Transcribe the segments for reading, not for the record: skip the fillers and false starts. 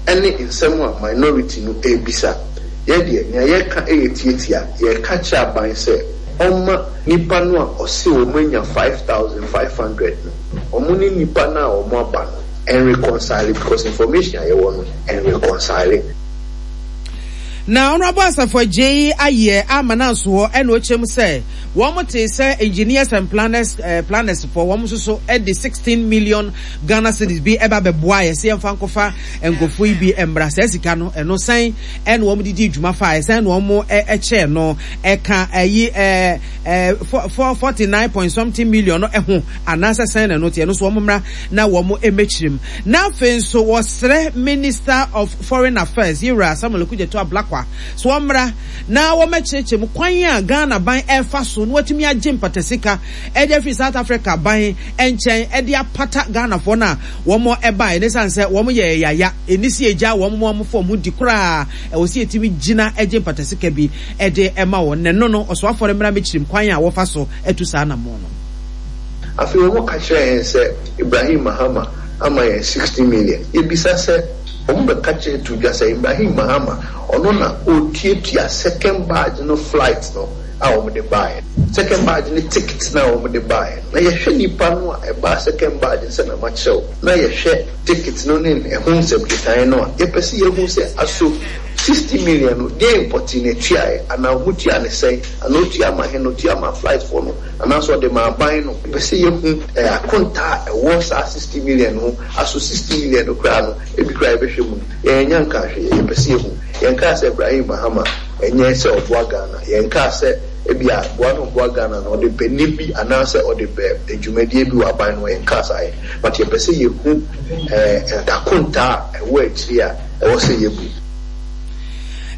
Ɛno ne nsɛm a minority no rebisa. Yɛ deɛ, nea yɛreka yɛ tiatia. Yɛreka kyerɛ aban sɛ ɔmma nnipa no a ɔse wɔn anya 5,500 no, wɔn ne nnipa no a wɔn aba no nreconcile because information a yɛwɔ no ɛnreconcile. Na Honourable Asafo Agyei ayɛ ama no anso hɔ ɛna ɔkyerɛ mu sɛ wɔn tee sɛ Engineers and Planners eh, planners foɔ wɔn nso so de 16 million Ghana cedis bi ɛba bɛboa yɛ sɛ yɛmfa nkɔfa nkurɔfoɔ yi bi mmra. Saa sika no ɛno sɛn ɛna wɔn de di dwuma fa ɛsɛn na wɔn ɛkyɛɛ no ɛka ɛyi ɛɛ ɛɛ 49 point something million no ɛho anaasɛ sɛn na ɛno teɛ no so wɔn mmra na wɔn mmɛkyerɛ mu. Na afei nso wɔsrɛ Minister of Foreign Affairs Yewura Samuel Okudzeto Ablakwa sɛ wɔmmra na wɔmmɛkyerɛkyerɛ mu kwan a Ghana ban ɛrefa so na watumi agye mpatasika de afiri South Africa ban nkyɛn de apata Ghanafoɔ no a wɔn ɛbaeɛ no ɛsiane sɛ wɔn yɛ yaya ɛnni sɛ yɛgyaa wɔn ma wɔn fa wɔn ho di koraa ɛwɔ sɛ yɛtumi gyina gye mpatasika bi de ma wɔn na ɛno no ɔsoafoɔ no mmra mmɛkyerɛ mu kwan a wɔfa so atu saa anammɔn no. Afei wɔka kyerɛɛ yɛn sɛ Ibrahim Mahama ama yɛn 60 million. Yɛbisa sɛ, wɔbɛka kyerɛ to dwa sɛ Ibrahim Mahama ɔno na ɔretuatua second batch no flight no a wɔde baeɛ no, second batch no ticket no a wɔde baeɛ no. Na yɛhwɛ nnipa no a ɛbaa second batch no sɛdeɛ makyerɛ wo, na yɛhwɛ ticket no ne ɛho nsɛm kekaeɛ no a, yɛpɛ sɛ yɛhu sɛ aso 60 million no deɛn pɔtee na ɛtuaeɛ anaa wɔtuaa no sɛn anaa ɔtua ma he na ɔtua ma flight foɔ no Anaasɛ ɔde ma aban no. Yɛpɛ sɛ yɛhu akontaa a ɛwɔ saa 60 million no ho. Aso 60 million no koraa no, ebi koraa yɛbɛhwɛ mu no, yɛannya nkaa hwee. Yɛpɛ sɛ yɛhu. Yɛnkaa sɛ Ibrahim Mahama ɛnyɛ sɛ ɔboa Ghana. Yɛnkaa sɛ ebia boa na ɔboa Ghana no, ɔde pɛ nne bi anaasɛ ɔde pɛ dwumadie bi wɔ aban no hɔ. Yɛnkaa saa yɛ. But yɛpɛ sɛ yɛhu akontaa a ɛwɔ akyire a ɛwɔ sɛ yɛbu.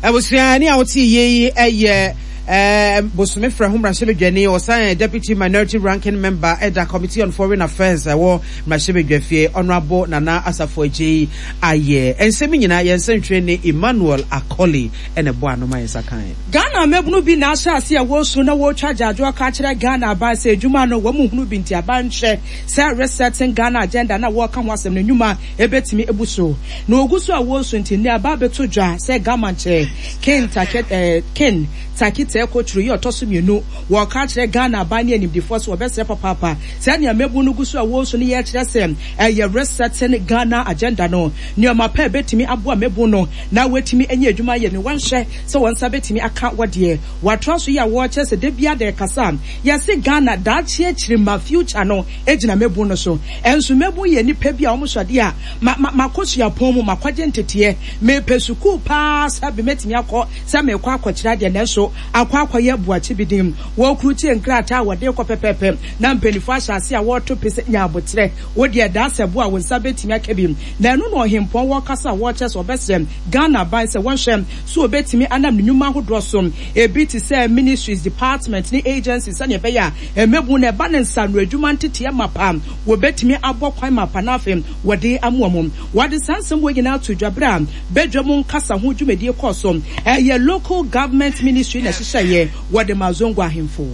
Abusua, ɛne a wote yie yi yɛ Bosome frɛ ho mmarahyɛbadwani, ɔsan yɛ Deputy Minority Ranking Member ɛda Committee on Foreign Affairs ɛwɔ mmarahyɛbadwafie, Honourable Nana Asafo Agyei ayɛ. Nsɛm yi nyinaa yɛn nsɛntwerɛni Emmanuel Akoli ɛna ɛbɔ ano ma yɛn nsa kae. Ghana mmabunu bi na ahyɛ ase a wɔresu na wɔretwa agyaadwoɔ aka akyerɛ Ghana aban sɛ adwuma no wɔn nhunu bi nti aban nhwɛ sɛ Resetting Ghana Agenda no a wɔreka ho asɛm no nnwuma ɛbɛtumi abu so. Na wɔgu so a wɔresu nti nnɛ aba abɛto dwa sɛ Gama nkyɛ Ken Take eh, Ken Takitɛ Kotru yi ɔtɔ so mmienu. Wɔreka akyerɛ Ghana aban ne animdefoɔ sɛ wɔbɛsrɛ papaapa sɛ nea mmabun no gu so a wɔresu no yɛ kyerɛ sɛ ɛyɛ Resetting Ghana Agenda no nneɛma pa a ɛbɛtumi aboa mmabun no na wɔatumi anya adwuma ayɛ no wɔnhwɛ sɛ wɔn nsa bɛtumi aka wɔ deɛ wɔatoa so yi a wɔrekyerɛ sɛ da biara da yɛkasa a yɛse Ghana daakye akyirimma future no gyina mmabun no so. Ɛnso mmabun yɛ nnipa bi a wɔn so adeɛ a ma ma makɔ suapɔn mu makɔgye nteteɛ Mepɛ sukuu paa sɛ be mɛtumi akɔ sɛ merekɔ akɔkyerɛ adeɛ nanso akɔ akɔyɛ boakye bi din. Wɔrekrukyie nkrataa a wɔde rekɔ pɛpɛɛpɛ na mpaninfoɔ ahyɛ aseɛ a wɔreto pe sɛ nya aboterɛ wo deɛ daa sɛ bo a wo nsa bɛtumi aka bi. Na ɛno na ɔhempɔn wɔrekasa a wɔrekyerɛ sɛ ɔbɛsrɛ Ghana aban sɛ wɔnhwɛ so ɔbɛtumi anam ne nnwuma ahodoɔ so ebi te sɛ ministries, department ne agencies sɛdeɛ ɛbɛyɛ a mmabun no ɛba ne nsaano adwuma nteteɛ mapa wɔbɛtumi abɔ kwan mapa na afei wɔde amoa mu. Wɔde saa nsɛm wei nyinaa too dwa berɛ a badwam nkasa ho dwumadie kɔɔ so. Ɛyɛ Local Government Ministry na ɛhyehyɛeɛ, wɔde maa Zongo ahemfo.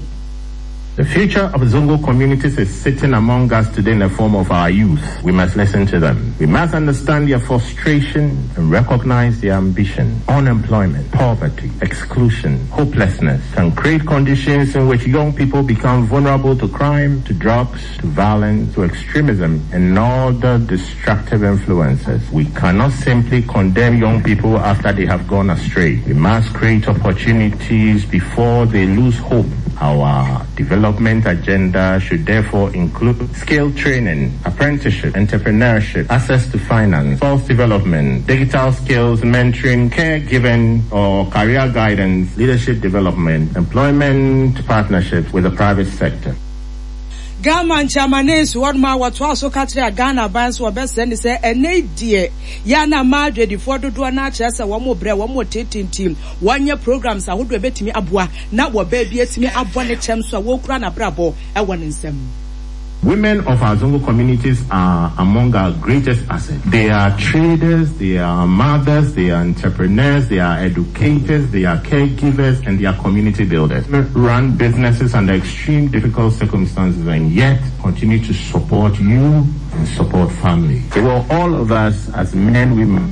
The future of Zongo communities is sitting among us today in the form of our youth. We must listen to them. We must understand their frustration and recognize their ambition. Unemployment, poverty, exclusion, hopelessness can create conditions in which young people become vulnerable to crime, to drugs, to violence, to extremism, and other destructive influences. We cannot simply condemn young people after they have gone astray. We must create opportunities before they lose hope. Our development agenda should therefore include skill training, apprenticeship, entrepreneurship, access to finance, self development, digital skills, mentoring, caregiving or career guidance, leadership development, employment partnerships with the private sector. Ghana nkyɛamanee si hɔnom a wɔtoaa so ka kyerɛɛ Ghana aban sɛ wɔbɛsrɛ no sɛ ɛnnɛ yi deɛ yɛ a na mmaa adwadifoɔ dodoɔ no ara kyerɛ sɛ wɔn brɛ, wɔn reteetee nti wɔnyɛ programs ahodoɔ a ɛbɛtumi aboa na wɔbaa bi atumi abɔ ne kyɛm so a wɔrekura n'abrabɔ wɔ ne nsam. Women of our Zongo communities are among our greatest assets. They are traders, they are mothers, they are entrepreneurs, they are educators, they are caregivers, and they are community builders. Run businesses under extreme difficult circumstances and yet continue to support you and support family. For all of us as men, women.